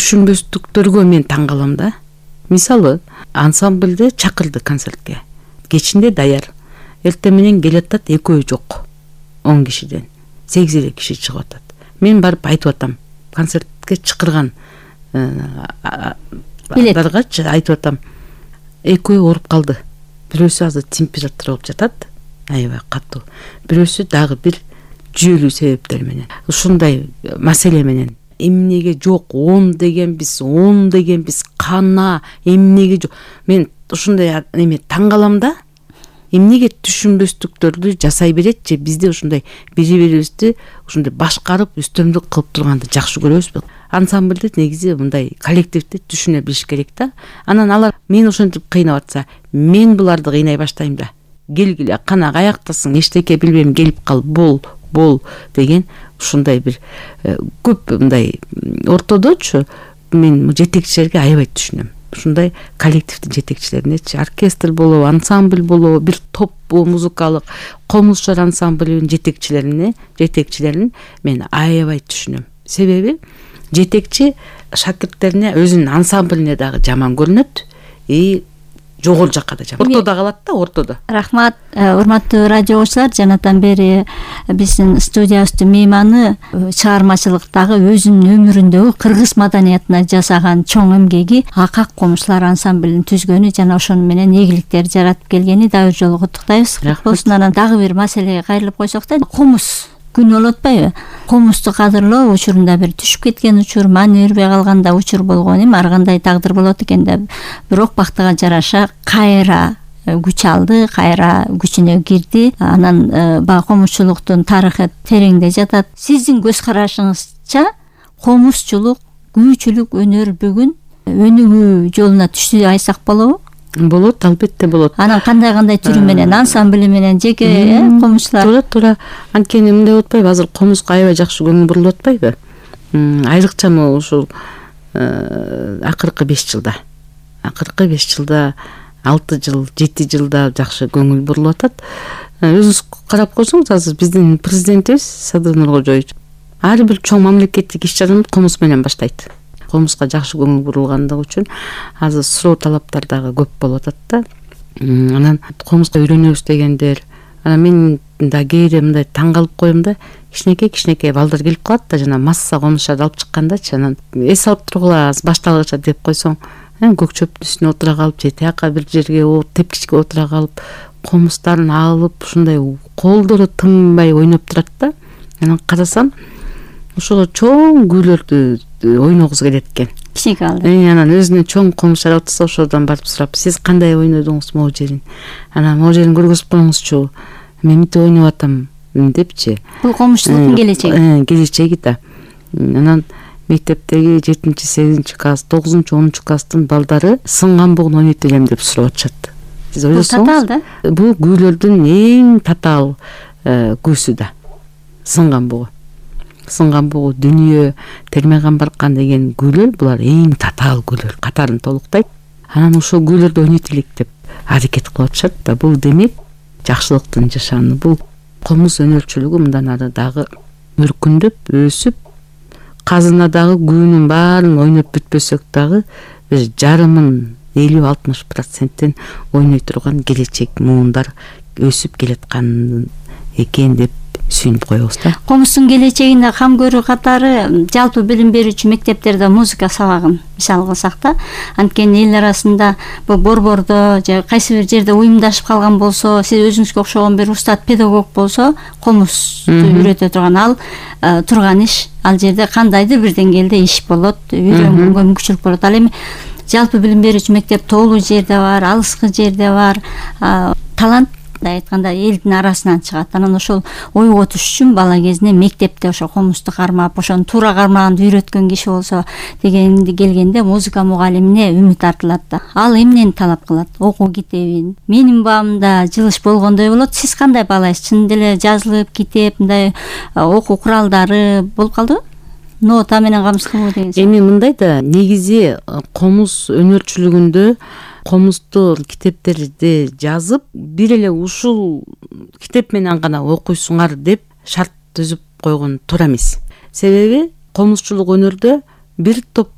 түшүнбөстүктөргө мен таң калам да. Мисалы, ансамбльди чакырды концертке. Кечинде даяр. Эртең менен келатат, экөө жок. 10 кишиден 8 киши чыгып атат. Мен барып айтып атам. Концертке чакырган билетчи айтып атам. Экөө ооруп калды. Бирөөсү азыр температура болуп жатат. Аябай катуу. Бирөөсү дагы бир жүйөлүү себептер менен. Ушундай маселе менен эмнеге жок, 10 дегенбиз, кана, эмнеге жок. Мен ушундай эме таң калам да. Эмнеге түшүнбөстүктөрдү жасай берет же бизде ушундай бири-бирибизди ушундай башкарып, үстөмдүк кылып турганды жакшы көрөбүзбү? Ансамбльди негизи мындай коллективди түшүнө билиш керек да. Анан алар мени ошентип кыйнап атса, мен буларды кыйнай баштайм да. Келгиле, кана каяктасың, эчтеке билбейм, келип кал, бол деген ушундай бир көп мындай ортодочу мен жетекчилерге аябай түшүнөм. Ушундай коллективдин жетекчилеринечи, оркестр болобу, ансамбль болобу, бир топпу музыкалык комузчар ансамбльдин жетекчилерин мен аябай түшүнөм. Себеби жетекчи шакирттерине, өзүнүн ансамблине дагы жаман көрүнөт, жогору жакка да жаман. Ортодо калат да, ортодо. Рахмат, урматтуу радио угуучулар, жанатан бери биздин студиябыздын мейманы чыгармачылыктагы өзүнүн өмүрүндөгү кыргыз маданиятына жасаган чоң эмгеги Акак комузчулар ансамблин түзгөнү жана ошону менен ийгиликтер жаратып келгени дагы бир жолу куттуктайбыз. Болсун, анан дагы бир маселеге кайрылып койсок да, комуз күн болуп атпайбы? Комузду кадырлоо учурунда бир түшүп кеткен учур, маани бербей калганда учур болгон эми ар кандай тагдыр болот экен да. Бирок бактыга жараша кайра күч алды, кайра күчүнө кирди. Анан баягы комузчулуктун тарыхы тереңде жатат. Сиздин көз карашыңызча комузчулук, күүчүлүк өнөр бүгүн өнүгүү жолуна түштү айтсак болобу? Болот, албетте болот. Анан кандай түрү менен, ансамбли менен, жеке комузчулар? Туура. Анткени мындай болуп атпайбы? Азыр комузга аябай жакшы көңүл бурулуп атпайбы? Айрыкча ушул акыркы 5 жылда. Акыркы 5 жылда, 6 жыл, 7 жылда жакшы көңүл бурулуп атат. Өзүңүз карап койсоңуз, азыр биздин президентибиз Садыр Нуркожоевич ар бир чоң мамлекеттик иш-чараны комуз менен баштайт. Комузга жакшы көңүл бурулгандыгы үчүн азыр суроо талаптар дагы көп болуп атат да. Анан комузга үйрөнөбүз дегендер. Анан мен да кээде мындай таң калып коем да, кичинекей балдар келип калат да, жана масса комузчарды алып чыккандачы, анан эс алып тургула, башталгыча деп койсоң, көк чөптүн үстүнө отура калып же тияка бир жерге тепкичке отура калып, комуздарын алып ушундай колдору тынбай ойноп турат да. Анан карасам, ошол чоң күүлөрдү ойногусу келет экен. Кичинекей алды. Анан өзүнө чоң комузчар отурса, ошодон барып сурап, сиз кандай ойнодуңуз могу жерин? Анан могу жерин көргөзүп коюңузчу. Мен мынтип ойноп атам депчи. Бул комузчулуктун келечеги. Келечеги да. Анан мектептеги 7-8 класс, 9-10 класстын балдары сынган бугун ойнойт элем деп сурап атышат. Сиз ойлосоңуз, татаал да. Бул күүлөрдүн эң татаал күүсү да. Сынган бугу. Сынган бугу, дүнүйө, Терме Камбаркан деген күүлөр, булар эң татаал күүлөр, катарын толуктайт. Анан ошол күүлөрдү ойнойт элек деп аракет кылып атышат да. Бул демек жакшылыктын жашаны. Бул комуз өнөрчүлүгү мындан ары дагы өркүндөп, өсүп, казынадагы күүнүн баарын ойноп бүтпөсөк дагы бир жарымын 50-60%-тен ойной турган келечек муундар өсүп келаткан экен деп сүйүнүп коебуз да. Комуздун келечегине кам көрүү катары жалпы билим берүүчү мектептерде музыка сабагын мисал кылсак да, анткени эл арасында бул борбордо же кайсы бир жерде уюмдашып калган болсо, сиз өзүңүзгө окшогон бир устат педагог болсо, комузду үйрөтө турган турган иш ал жерде кандайдыр бир деңгээлде иш болот, үйрөнгөнгө мүмкүнчүлүк болот. Ал эми жалпы билим берүүчү мектеп тоолуу жерде бар, алыскы жерде бар, талант айтканда элдин арасынан чыгат. Анан ошол ойготуш үчүн бала кезинде мектепте ошо комузду кармап, ошону туура кармаганды үйрөткөн киши болсо дегенди келгенде музыка мугалимине үмүт артылат да. Ал эмнени талап кылат? Окуу китебин. Менин баамда жылыш болгондой болот. Сиз кандай баалайсыз? Чын деле жазылып китеп, мындай окуу куралдары болуп калдыбы? Нота менен камсыз кылуу деген. Эми мындай да, негизи комуз өнөрчүлүгүндө комузду китептерди жазып, бир эле ушул китеп менен гана окуйсуңар деп шарт түзүп койгон туура эмес. Себеби комузчулук өнөрдө бир топ